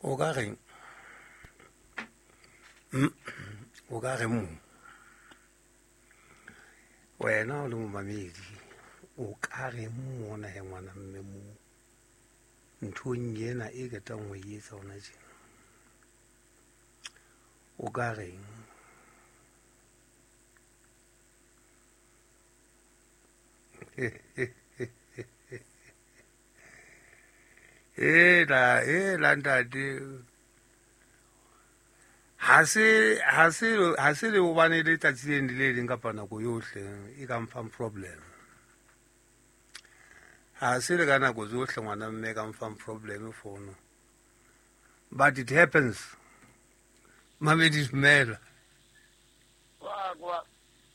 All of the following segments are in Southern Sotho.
O ka reng? O ka reng mo? Wena o le momamedi, o ka reng mona he ngwana mme mo nthong ena e qetang ho e etsa hona tjena? O ka reng? Ela, ela ntate. Ha se ha se ha se le hobane le tsatsi le le leng kapa nako yohle e ka mfang problem. Ha se le ka nako tsohle ngwana mme ka mfang problem fono. But it happens. Mamedi dumela.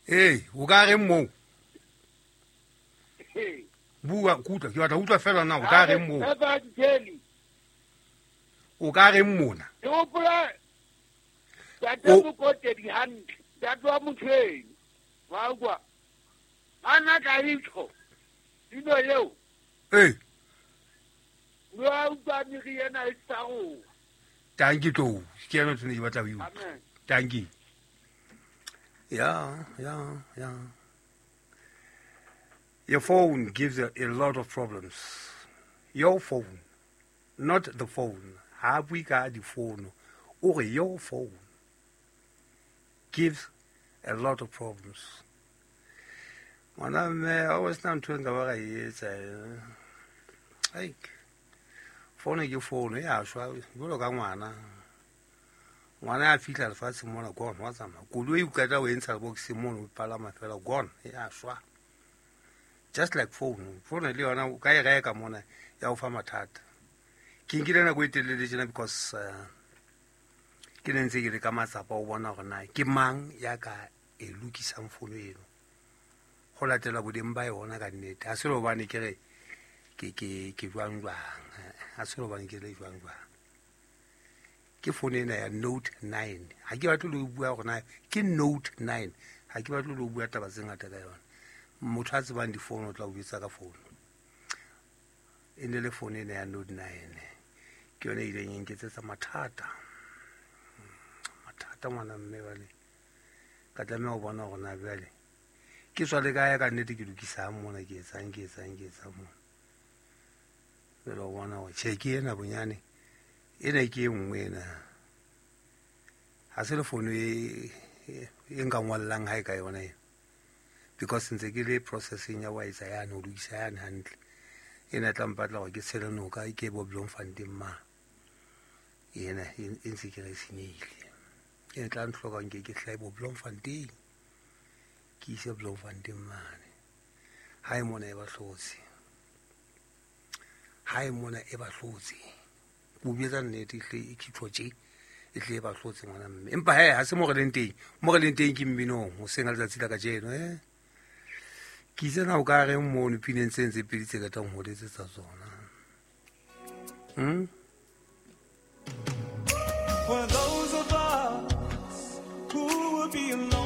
Ee, o ka reng moo? Bua kutlwa, ke batla utlwa fela na o ka reng moo? O ka reng mona? Ke hopola ntate Mokotedi hantle, ntate wa Motshweng. Wa utlwa? Ana ka itjho pino eo. Ee. Wa utlwa meriana e sa roa. Tanki tlou, ke yona ntho ne ke batla ho e utlwa. Amen. Tanki. Yeah, yeah, yeah. Your phone gives a lot of problems. Your phone, not the phone. Ha bue ka difono. O re your phone gives a lot of problems. Ngwana mme, ha o sena ntho e nka ba ka e etsa. Ai. Fono ke fono e a shwa jwalo ka ngwana. Ngwana ya fihla lefatsheng mona gone wa tsamaya. Koloi o qeta o e ntsha boxeng mono o palama fela gone e a shwa. Just like phone, phone le yona o ka e reka mona ya o fa mathata. Ke nkile nako e telele tjena because ke ne ntse ke le ka matsapa o bona hore na ke mang ya ka e lokisang fono eno. Ho latela bodeng ba yona ka nnete. Ha se le hobane ke re ke ke ke jwang jwang. Ha se le hobane ke le jwang jwang. Ke phone ena ya Note 9. Ha ke batle le ho bua hore na ke Note 9. Ha ke batle le ho bua taba tse ngata ka yona. Motho a tsebang difono o tla o jwetsa ka fono. E ne le phone ena ya Note 9. Ke yona e ileng e nketsetsa mathata. Mathata ngwana mme bale. Ka tlameha ho bona hore na jwale ke tswa le kae ka nnete ke lokisang mona, ke etsang, ke etsang, ke etsang mona. Jwale o bona hore tjhe ke ena bonyane. Ena ke e nngwe ena. Ha se le fono e nka ngwallang hae ka yona ena. Because ntse ke le processing ya wa etsa yane, ho lokisa yane hantle. Ena e tla mpatla hore ke tshele noka, ke bo Bloemfontein ma. Ena e ntse ke re senyehile. Ena e tla ntlhoka nke ke hlahe bo Bloemfontein. Ke ise Bloemfontein mane. Ha e mona e ba hlotse. Ha e mona e ba hlotse. Ke o bjetsa nnete, ehlile e khitjho tje, ehlile e ba hlotse ngwana mme. Empa he, ha se mo re leng teng. Mo re leng teng ke mminong, hoseng ha letsatsi la kajeno, eh. Ke itse na o ka reng mono pineng tse ntse pedi tse qetang ho letsetsa tsona. For those of us who will be alone.